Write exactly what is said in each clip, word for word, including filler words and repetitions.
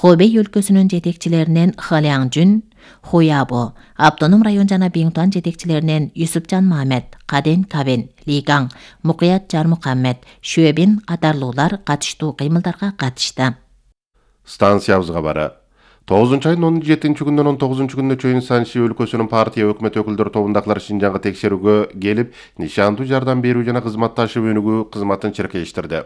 Хобей өлкөсүнүн жетекчилеринен Халяң Жүн, Хуябо, Автоном район жана Биңтуан жетекчилеринен Юсупжан Мамед, Каден Кабен, Лигаң, Мукуят Жармукаммед, Шөбин катарлуулар катыштуу кыймылдарга катышты. Станциябызга бары. тогузунчу айдын он жетинчи күнүнөн он тогузунчу күнүнө чейин Санши өлкөсүнүн партия өкмөт өкүлдөрү тобундагылар Шинжаңга текшерүүгө келип, нишандуу жардам берүү жана кызматташуу өнүгүү кызматын чиркештирди.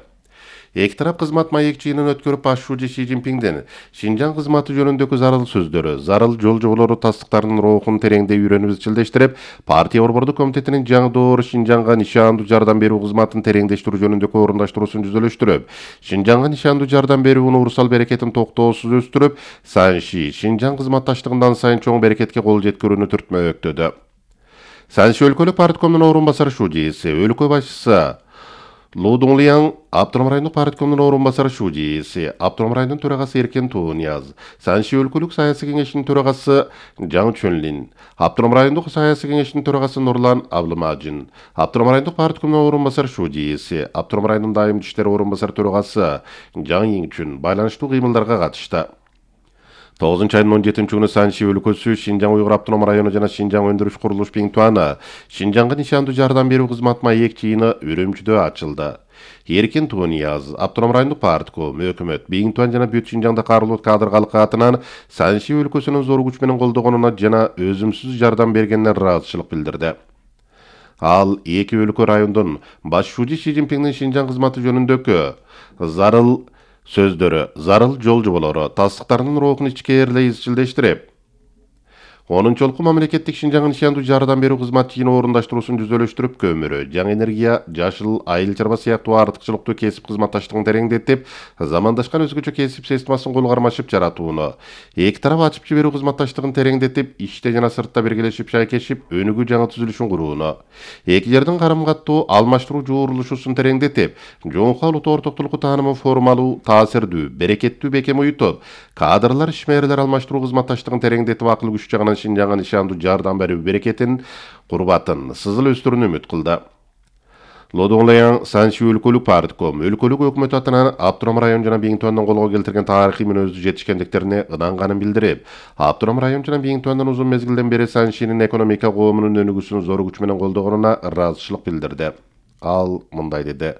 Эки тарап кызмат маек жыйынын өткөрүп башчы Си Цзиньпиңдин Шинжаң кызматы жөнүндөгү зарыл сөздөрү, зарыл жол жоболору тастыктарынын рухун тереңдей үйрөнүп изчилдештирип, партия борбордук комитетинин жаңы доору Шинжаңга нишандуу жардам берүү кызматын тереңдештирүү жөнүндөгү орундаштыруусун жүзөлөштүрүп, Шинжаңга нишандуу жардам берүүнүн урусал берекетин токтоосуз өстүрүп, Санши Шинжаң кызматташтыгындан сайын чоң берекетке кол жеткирүүнү түртмөктөдү. Санши өлкөлүк парткомдун орун басары Шужиси, өлкө башчысы Лу Дунлияң, Автоном райондук парткомдун орун басары Шужиси, Автоном районунун төрагасы Эркен Тунияз, Санши өлкөлүк саясий кеңешинин төрагасы Жаң Чөнлин, Автоном райондук саясий кеңешинин төрагасы Нурлан Аблымажин, Автоном райондук парткомдун орун басары Шужиси, Автоном районунун дайым иштер орун басары төрагасы Жаң Иңчүн байланыштуу кыймылдарга катышты. тогузунчу айдын он жетинчи күнү Санши өлкөсү, Шинжаң Уйгур автоном району жана Шинжаң өндүрүш курулуш Биңтуаны Шинжаңга нишандуу жардам берүү кызмат маек жыйыны Үрүмчүдө ачылды. Эркен Тунияз, Автоном райондук партком, өкмөт, Биңтуан жана Бүт Шинжаңда карылуу кадр калкы атынан Санши өлкөсүнүн зор күч менен колдогонуна жана өзүмсүз жардам бергенине ыраазычылык билдирди. Ал эки өлкө райондун башчы Си Цзиньпиңдин Шинжаң кызматы жөнүндөгү зарыл сөздөрү, зарыл жол жоболору тастыктарынын рухун ичкээрлей изчилдештирип, онунчолку мамлекеттик Шинжаңга нишандуу жардам берүү кызмат жыйыны орундаштыруусун жүзөлөштүрүп, көмүрү, жаңы энергия, жашыл, айыл чарба сыяктуу артыкчылыктуу кесип кызматташтыгын тереңдетип, замандашкан өзгөчө кесип системасын кол кармашып жаратууну, эки тарап ачып жиберүү кызматташтыгын тереңдетип, ичте жана сыртта биргелешип шайкешип, өнүгүү жаңы түзүлүшүн курууну, эки жердин карым-каттуу алмаштыруу жуурулушусун тереңдетип, жоңку улуттуу ортоктулукку таанымын формалуу, таасирдүү, берекеттүү бекем уютуп, кадрлар, ишмерлер алмаштыруу кызматташтыгын тереңдетип, акыл күч жагынан Шинжаңга нишандуу жардам берүү берекетин, курбатын, сызыл өстүрүүнү үмүт кылды. Лодоңлаяң Санши өлкөлүк партком, өлкөлүк өкмөт атынан Автоном район жана Биңтуандын колго келтирген тарыхый мүнөздүү жетишкендиктерине ынанганын билдирип, Автоном район жана Биңтуандын узун мезгилден бери Саншинин экономика коомунун өнүгүүсүн зор күч менен колдогонуна ыраазычылык билдирди. Ал мындай деди: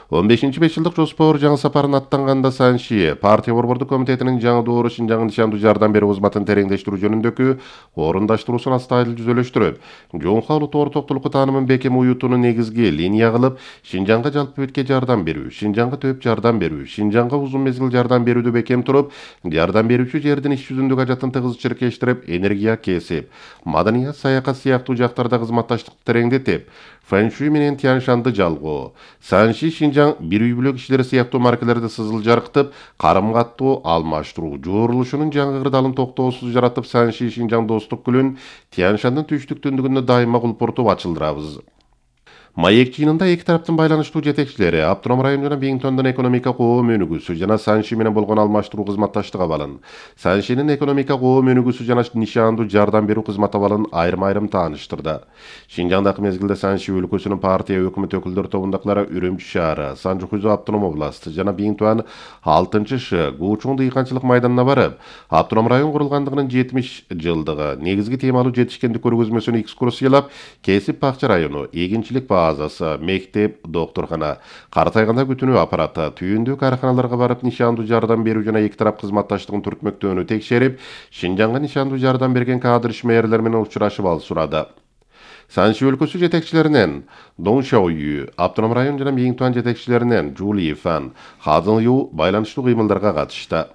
он бешинчи беш жылдык жоспор жаңы сапарын аттанганда Санши партия борбордук комитетинин жаңы доору Шинжаңга нишандуу жардам берүү кызматын тереңдештирүү жөнүндөгү орундаштыруусун астайыл жүзөлөштүрүп, жоңку улуттуу ортоктулукку таанымын бекем уютууну негизги линия кылып, Шинжаңга жалпы бетке жардам берүү, Шинжаңга төп жардам берүү, Шинжаңга узун мезгил жардам берүүдө бекем туруп, жардам берүүчү жердин иш жүзүндөгү ажатын тыгыз чиркештирип, энергия, кесип, маданият, саякат сыяктуу жактарда кызматташтыкты тереңдетип, фэншуй менен Тяньшанды жалгоо, Санши Шинжаң бир үй бүлө кишилери сыяктуу маркалерди сызыл жарктып, карым-каттуу алмаштыруу жуурулушунун жаңы кырдаалын токтоосуз жаратып, Санши Шинжаң достук гүлүн Тяньшандын түштүк-түндүгүндө дайыма кулпуртуп ачылдырабыз. Маек жыйынында эки тараптын байланыштуу жетекчилери Автоном район жана Биңтуандын экономика коом өнүгүүсү жана Санши менен болгон алмаштыруу кызматташтык абалын, Саншинин экономика коом өнүгүүсү жана нишандуу жардам берүү кызмат абалын айрым-айрым тааныштырды. Шинжаңдагы мезгилде Санши өлкөсүнүн партия өкмөт өкүлдөрү тобундагылары Үрүмчү шаары, Санжу-Хузу автоном областы жана Биңтуан алтынчы Ш Гуучуң дыйканчылык майданына барып, Автоном район курулгандыгынын жетимиш жылдыгы негизги темалуу жетишкендик көргөзмөсүн экскурсиялап, кесип бакча району, эгинчилик базасы, мектеп, доктурхана, картайганда күтүнүү аппараты, түйүндүү каарканаларга барып нишандуу жардам берүү жана эки тарап кызматташтыгын түртмөктөөнү текшерип, Шинжаңга нишандуу жардам берген кадр ишмерлер менен учурашып ал сурады. Санши өлкөсү жетекчилеринен Дон Шаою, Автоном район жана Биңтуан жетекчилеринен Жули Фан, Хазын Ю байланыштуу кыймылдарга катышты.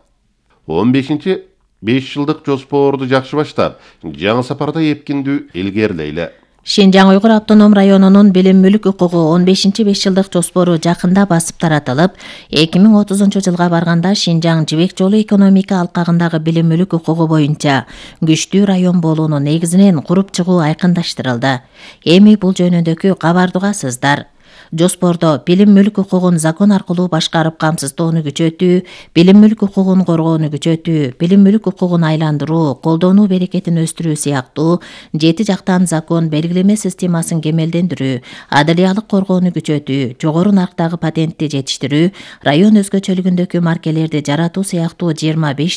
он бешинчи беш жылдык жоспорду жакшы баштап, жаңы сапарда эпкиндүү илгерлейле. Шинжаң Уйгур автоном районунун билим мүлк укугу он бешинчи беш жылдык жоспору жакында басып таратылып, эки миң отузунчу жылга барганда Шинжаң жибек жолу экономика алкагындагы билим мүлк укугу боюнча күчтүү район болуунун негизинен куруп чыгуу айкындаштырылды. Эми бул жөнүндөгү кабарды угасыздар. Жоспордо билим мүлк укугун закон аркылуу башкарып камсыздоону күчөтүү, билим мүлк укугун коргоону күчөтүү, билим мүлк укугун айландыруу, колдонуу берекетин өстүрүү сыяктуу жети жактан закон белгилеме системасын кемелдендирүү, адалиялык коргоону күчөтүү, жогору нарктагы патентти жетиштирүү, район өзгөчөлүгүндөгү маркелерди жаратуу сыяктуу жыйырма беш